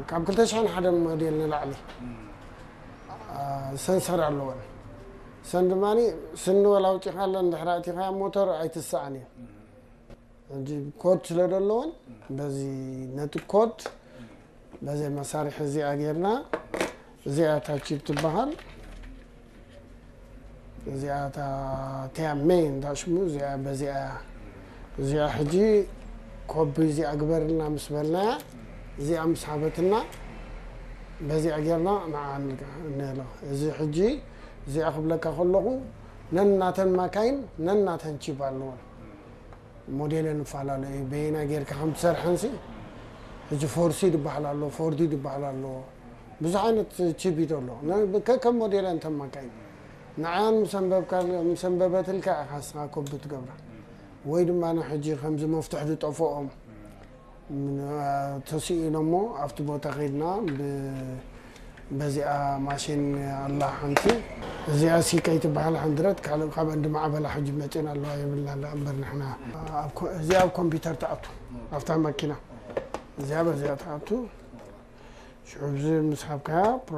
ካብ ክልተ ሽሕን ሓደ ሞዴል ንላዕሊ ሰንሰር ኣለወን። ሰን ድማ ስኒ ወላ ኣውፂኻለን ድሕሪ ኣእቲኻያ ሞተር ኣይትሰኣን እዩ። ሕጂ ኮድ ስለ ዘለወን በዚ ነቲ ኮድ በዚ መሳርሒ እዚኣ ጌርና እዚኣ ታቺፕ ትበሃል። እዚኣ እታ ቴያ ሜን እታ ሽሙ እዚኣ በዚኣ እያ። እዚኣ ሕጂ ኮቢ እዚኣ ግበርልና ምስ በልናያ እዚኣ ምስ ሃበትና በዚኣ ጌርና ንዓ ንህሎ። እዚ ሕጂ እዚኣ ክብለካ ከለኹ ነናተን ማካይን ነናተን ቺፕ ኣለወን። ሞዴለን ይፈላለ እዩ። በየናይ ጌርካ ከም ትሰርሐንሲ ሕጂ ፎርሲ ዝበሃል ኣሎ፣ ፎርዲ ዝበሃል ኣሎ። ብዙሕ ዓይነት ቺፕ እዩ ዘሎ። ነ- ከከም ሞዴለን ተማካይ ንዓን ምስ ኣንበብካ ምስ ኣንበበትልካ ኢኻ ንስኻ ኮቢ ትገብራ። ወይ ድማ ን ሕጂ ከምዚ መፍትሕ ዝጠፍኦም ምን- ተስኢኖሞ ኣብቲ ቦታ ከይድና ብ- በዚኣ ማሽን ኣላ ሓንቲ እዚኣ ሲ ከይትበሃል ሓንድረት ካልእ ካብ እንዲ ማዕበላ ሕጂ መፂና ኣለዋ የብልና ላ እምበር ንሕና ኣብ ኮ- እዚኣ ኣብ ኮምፒውተር ትኣቱ ኣብታ መኪና እዚኣ በዚኣ ትኣቱ ሽዑ ብዚ ምስ ሃብካያ